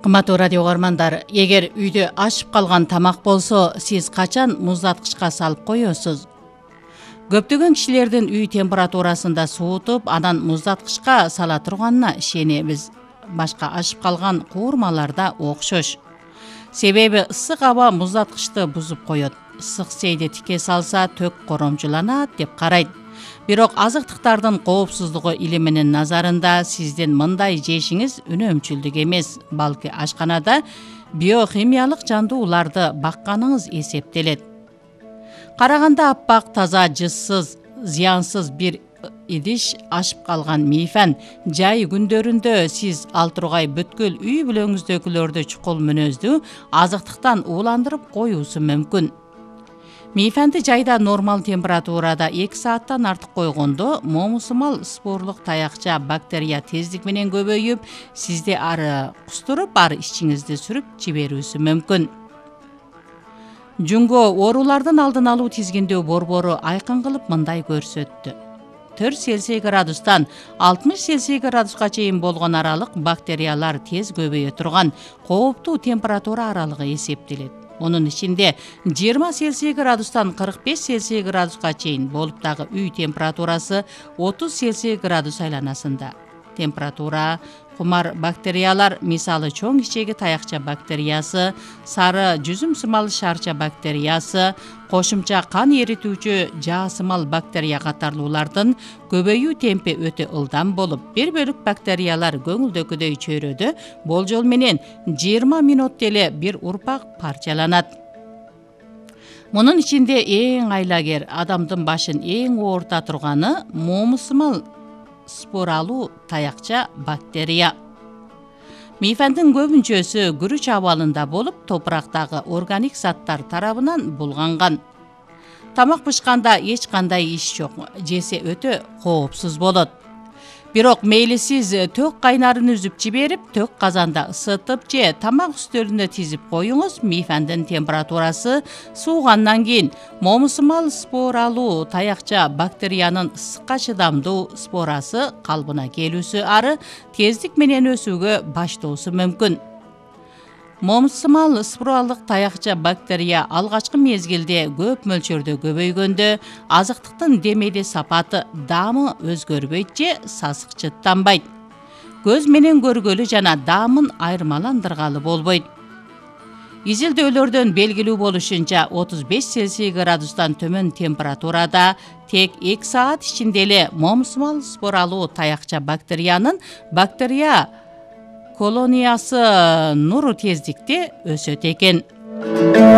Кымбаттуу радио угармандар, эгер үйдө ашып калган тамак болсо, сиз качан муздаткычка салып коесуз? Көптөгөн кишилердин үй температурасында суутуп, анан муздаткычка сала турганына ишенебиз. Башка ашып калган куурмалар да окшош. Себеби ысык аба муздаткычты бузуп коет. Ысык сейди тике салса төк коромчуланат деп карайт. Бирок азыктыктардын коопсуздугу илиминин назарында сиздин мындай жешиңиз үнөмчүлдүк эмес, балки ашканада биохимиялык жандууларды бакканыңыз эсептелет. Караганда аппак, таза, жызсыз, зыянсыз бир идиш ашып калган мейфен жай күндөрүндө сиз ал тургай бүткүл үй бүлөңүздөгүлөрдү чукул мүнөздүү азыктыктан ууландырып коюусу мүмкүн. Мейфенди жайда нормал температурада 2 сааттан артык койгондо момусумал спорлук таякча бактерия тездик менен көбөйүп, сизди ары кустуруп, ары ичиңизди сүрүп жиберүүсү мүмкүн. Жунго оорулардын алдын алуу тизгиндөө борбору айкын кылып мындай көрсөттү. 4 Цельсий градустан 60 Цельсий градуска чейин болгон аралык бактериялар тез көбөйө турган кооптуу температура аралыгы эсептелет. Онун ичинде 20 Цельсий градустан 45 Цельсий градуска чейин болуп дагы үй температурасы 30 Цельсий градус айланасында. Температура кумар бактериялар, мисалы чоң ичеги таякча бактериясы, сары жүзүм сымал шарча бактериясы, кошумча кан эритүүчү жаасымал бактерия катарлуулардын көбөйүү темпи өтө ылдам болуп, бир бөлүк бактериялар көңүлдөгүдөй чөйрөдө болжол менен 20 мүнөттө эле бир урпак парчаланат. Мунун ичинде эң айлагер, адамдын башын эң оорта турганы момусумал споралуу таякча бактерия. Мейфендин көбүнчөсү күрүч абалында болуп, топурактагы органик заттар тарабынан булганган. Тамак бышканда эч кандай иш жок, жесе өтө коопсуз болот. Бирок мейли сиз төк кайнарын үзүп жиберип, төк казанда ысытып же тамак үстөлүнө тизип коюңуз, мейфендин температурасы суугандан кийин момусумал споралуу таякча бактериянын ысыкка чыдамдуу спорасы калыбына келүүсү ары тездик менен өсүүгө баштоосу мүмкүн. Момусумал споралык таякча бактерия алгачкы мезгилде көп мөлчөрдө көбөйгөндө азыктыктын демеде сапаты, даамы өзгөрбөйт же сасыкчыттанбайт. Көз менен көргөлү жана даамын айырмаландыргалы болбойт. Изилдөөлөрдөн белгилүү болушунча 35 Цельсий градустан төмөн температурада тек 2 саат ичинде эле момусумал споралуу таякча бактериянын бактерия колониясы нуру тездикте өсөт экен.